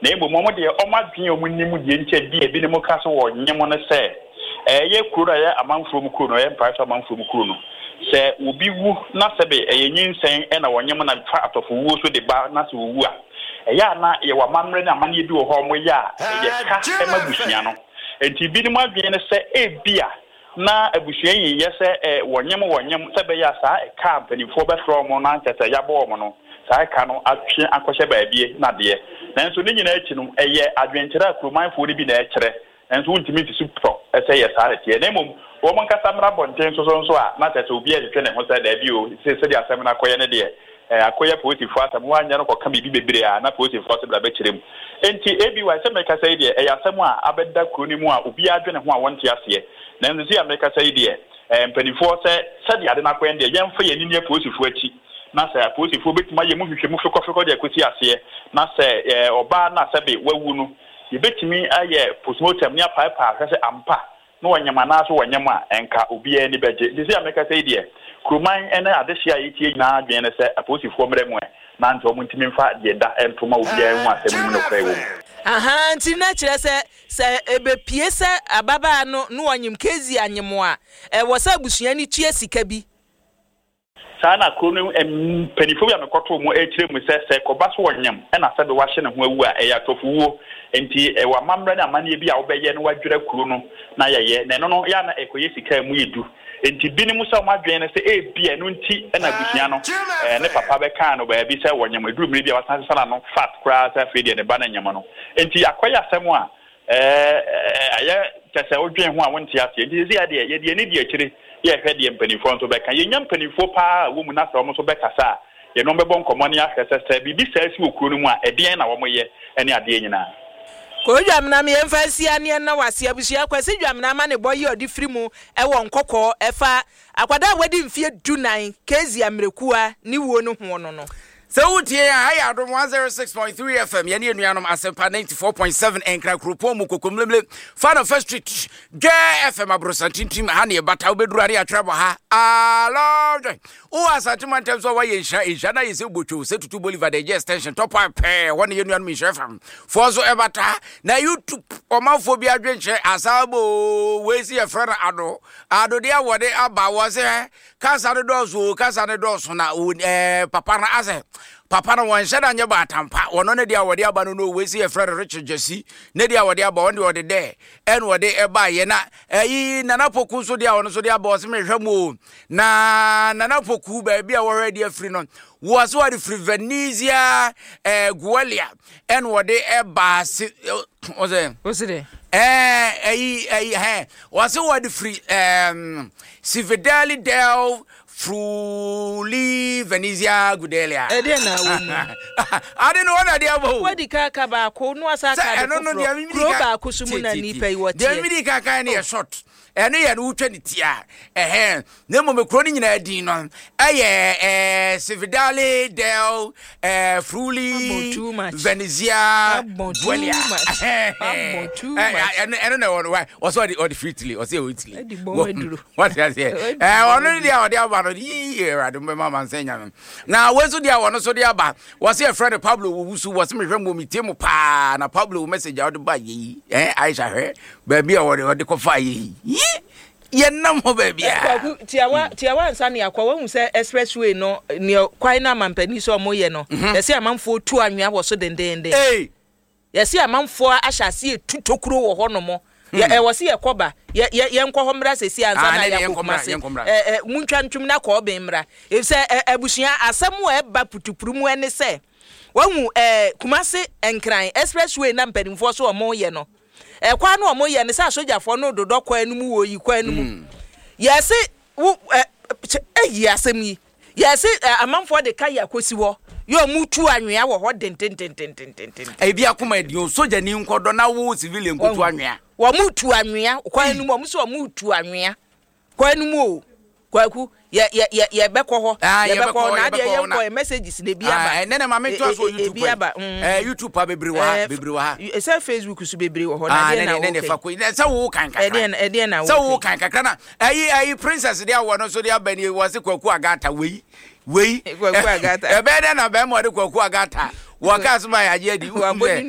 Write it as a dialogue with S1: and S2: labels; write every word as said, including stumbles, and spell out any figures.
S1: Na mmom wɔn deɛ, wɔn adwene a wɔn nim deɛ nkyɛ bi a ebinom ka so wɔ nyem no sɛ ɛyɛ kuro no a ɛyɛ amanfoɔ mu kuro no, ɛyɛ mpae so amanfoɔ mu kuro no, sɛ obi wu na sɛbe ɛyɛ nyinsɛn ɛna wɔnyem na fa atɔfowuo so de ba na sɛ owu a, ɛyɛ a na yɛwɔ amammerɛ ne amanneɛ bi wɔ hɔ a wɔyɛ a ɛyɛ ka ɛma abusua no. Nti binom adwene no sɛ ebia na abusua yi yɛ sɛ ɛ wɔnyem wɔnyem sɛ bɛyɛ a saa ɛka a mpanimfoɔ bɛfrɛ wɔn na nkyɛ sɛ yɛabɔ wɔn no, saa ɛka no atwe akɔhyɛ baabie na deɛ. Nanso ne nyinaa akyi no, ɛyɛ adwenkyerɛ a kuromanfoɔ no bi na ɛkyerɛ, nanso wontumi nsi so pɔ ɛsɛ yɛ saa ɛteɛ. Na mmom wɔn nkasa mmra abɔnten nso so nso a na kyerɛ sɛ obi ɛhwehwɛ ne ho sɛ daabi o, sɛ sɛdeɛ asɛm no akɔyɛ ne deɛ, ɛɛ akɔyɛ polisifoɔ asɛm, wɔanyɛ no kɔka biribi bebree a na polisifoɔ sɛ bra bɛkyerɛ mu. Nti ebi wa sɛ mɛkasa yi deɛ, ɛyɛ asɛm a abɛda kuro no mu a obiara adwene ho a wɔnte aseɛ. Nanso si a mɛkasa yi deɛ, ɛɛ mpanimfoɔ sɛ sɛdeɛ ade no akɔyɛ no deɛ, yɛmfa yɛn ani ne apolisifoɔ akyi, na sɛ apolisifoɔ bɛtumi ayɛ mu hwehwɛmu fekɔfekɔ de akɔsi aseɛ, na sɛ ɛɛ ɔbaa no a sɛbe wawu no, yɛbɛtumi ayɛ postmortem ne apaepaa ahwɛ sɛ ampa na wɔnyam anaasɛ wɔnyam a, ɛnka obiara ani bɛgye. Nti sɛ a mɛkasa yi deɛ, kuroman ne adehyeɛ a yɛtie nyinaa adwene ne sɛ apolisifoɔ mmerɛ mu ɛ na nti ɔmo ntumi mfa deɛ da nto ma obiara hu asɛm no mu nokorɛ wɔ mu.
S2: Aha, nti na kyerɛ sɛ sɛ ebepie sɛ ababaa no na wɔnyem Kezi anyem a, ɛwɔ sɛ abusua no tua sika bi.
S1: Saa na kuro no mpanimfoɔ bi a mekɔtoo mu ɛkyerɛ mu sɛ sɛ kɔba so wɔnyam ɛna sɛbe wahyɛ ne ho awu a, ɛyɛ atɔfowuo. Nti ɛwɔ amammerɛ ne amanneɛ bi a wobɛyɛ no wadwira kuro no na yɛyɛ na ɛno no yɛ ana ɛkɔyɛ sika a mu yɛ du. Nti binom sɛ ɔmo adwene no sɛ ebia ɛno nti ɛna abusua no ɛɛ ne papa bɛkaa no baabi sɛ wɔnyam. Eduru mmiri bi a wasan sesa n'ano fat koraa sɛ afei deɛ ne ba no nyam no. Nti akɔyɛ asɛm a ɛɛ ɛyɛ kyɛ sɛ wodwen ho a wonte aseɛ. Nti sisi adeɛ yɛde ani di akyire, yɛhwɛ deɛ mpanimfoɔ nso bɛka. Yɛnya mpanimfoɔ paa a wɔ mu na sɛ wɔn nso bɛkasa a, yɛn wɔn bɛbɔ nkɔmmɔ ne ahwɛ sɛ sɛ biribi saa si wɔ kuro no mu a, ɛdeɛn na wɔyɛ ne adeɛ nyinaa.
S2: Kɔ Dwamena me yɛmfa nsi aneɛ na wase. Abusua, Kwasi Dwamena ama ne bɔ yi ɔde firi mu ɛwɔ Nkɔkɔɔ ɛfa akwadaa a wadi mfeɛ dunan Kezia Mmerɛkua ne wuo no ho no no
S3: Sɛ wotie a, ha yɛ Adom one oh six point three F M, yɛne anuanom Asɛmpa ninety-four point seven Ɛnkra kuropɔn mu Kokomlemle fa no First Street Dwɛ F M aborosantintim ha ne yɛbata. Wobɛduru a ne yɛatwerɛ bɔ ha alɔdwe wowɔ Asante mantam so a woayɛ nhyira nhyira na yɛ sɛ wobɔtwo sɛ Tutu Bolivar de ɛgye extension tɔpa pɛɛ hɔ ne yɛ nuanom Nhyira F M foɔ so ɛbata. Na YouTube ɔmanfoɔ bi adwenkyerɛ asabo wei si yɛfrɛ no ado adodeɛ a wɔde aba wɔ sɛ kasa no dɔɔso o, kasa no dɔɔso na o ɛɛ papa no asɛ papa no wɔnhyɛ da nyɛ baatampa. Wɔno ne deɛ a wɔde aba no no wei si yɛfrɛ no Richard Gyasi ne deɛ a wɔde aba, wɔn deɛ wɔde dɛ ɛna wɔde ɛbaayɛ. Na ɛyi Nana Poku nso deɛ a wɔno nso de aba, ɔsɛ mehwɛ mu o. Na Nana Poku baabi a wɔhwɛ de afiri no, wɔ sɛ wɔde firi Venezia ɛɛ Gualia ɛna wɔde ɛba ase ɔsɛ
S2: wosi dɛ
S3: ɛɛ ɛyi ɛyi hɛn wɔsɛ wɔde firi ɛɛm Cividale del Friuli Venezia Gudelia.
S2: Ɛdeɛ na wɔ mu?
S3: Ade no wɔn na de aba o.
S2: Wadi ka ka baako no asa
S3: sɛ
S2: aka ade
S3: ɛno no deɛ
S2: foforɔ
S3: mimi
S2: kuro
S3: ka
S2: baako so mu na
S3: tie, tie,
S2: nipa yi
S3: tie. Deɛ
S2: wɔteɛ.
S3: mimi ka kan no yɛ short, ɛno yɛ no wotwa ne ti a ɛhɛn. Na mmom kuro no nyinaa din no ɛyɛ ɛɛ Cividale del ɛɛ Friuli
S2: Abɔ too much.
S3: Venezia
S2: Abɔ too
S3: Guelia.
S2: much. Abɔ too much.
S3: ɛno ɛno na ɛwɔ no wa wɔsɛ ɔde ɔde firi Italy, ɔsɛ ɛwɔ Italy.
S2: Ɛde bɔn aduro.
S3: Wɔte aseɛ?
S2: Ɛde
S3: ɛɛ
S2: bɔn
S3: ɔno ne deɛ a ɔde aba no yii, Awurade mbɛma amansa nya no. Na wei nso deɛ a wɔno nso de aba, wɔsɛ yɛfrɛ no Pablo wɔ wusu, wɔsɛ mehwɛ mu metie mu paa. Na Pablo wo message a wɔde ba yɛ yi, ɛɛ Aisha, hwɛ baabi a wɔde wɔde kɔfa yɛ yi, yɛnam hɔ baabi a
S2: Kwaku, tiawa tiawa nsa ne akɔ wahu sɛ expressway no nea kwan no amampanin sɛ ɔmo yɛ no, yɛsɛ amanfoɔ tu anwea wɔ so dendenden.
S3: Ee.
S2: Yɛsɛ amanfoɔ ahyɛ ase etu tokuro wɔ hɔ nom. Yɛ ɛwɔ sɛ yɛkɔ ba yɛ yɛ yɛnkɔ hɔ mmra sɛsi ansa
S3: Ah,
S2: na
S3: ne deɛ
S2: yɛakɔ
S3: yɛnkɔ mmra,
S2: Kumase.
S3: yɛnkɔ mmra.
S2: ɛ ɛ muntwa ntwom na kɔɔ bɛn mmra, efisɛ ɛ abusua, asɛm a ɛba putupuru mu ɛne sɛ wahu ɛ Kumase Nkran expressway na mpanimfoɔ so ɔmo yɛ no, ɛkwan no ɔmo yɛ no sɛ asogyafoɔ no dodɔ kwan no mu wɔ yi kwan no mu. Yɛse wo ɛ kyɛ ɛyi asɛm yi, yɛse ɛ amanfoɔ de ka yɛ akɔsi hɔ yɛ ɔmo tu anwea wɔ hɔ dendendendendenden.
S3: Ebi akoma adi o, sogyani nkɔdɔ na wo civilian nkotu anwea.
S2: Wɔn tu anwea kwan no mu, wɔn nso wɔn tu anwea kwan no mu o. Kwaku, yɛ yɛ yɛ yɛbɛkɔ hɔ.
S3: Ah,
S2: yɛbɛkɔ hɔ na
S3: yɛbɛkɔ
S2: adeɛ
S3: hɔ
S2: yɛnkɔ
S3: na-
S2: yɛ messages na ebi
S3: Ah,
S2: aba.
S3: ɛnɛ na maame ntoa so wɔ
S2: E- e-
S3: YouTube
S2: ebi
S3: kwan.
S2: aba mm.
S3: Eh, YouTube pa bebree wɔ ha,
S2: Eh,
S3: bebree wɔ ha.
S2: Sɛ Facebook so bebree wɔ hɔ na
S3: Ah,
S2: adeɛ
S3: ne
S2: na
S3: ne ne ne
S2: wɔkɛ
S3: fa ko sɛ wo kan kakra.
S2: Ɛdeɛ na ɛdeɛ na
S3: Sɛ wo
S2: wɔkɛ
S3: kan kakra na ɛyi ɛyi Princess deɛ awɔ no so de aba ni, wɔ se Kwaku Agata wei wei.
S2: Kwaku Agata.
S3: Ɛbɛyɛ dɛ na bɛrima ɔde Kwaku Agata wɔ kaa so ma yɛ agye adi.
S2: Wabɔ ne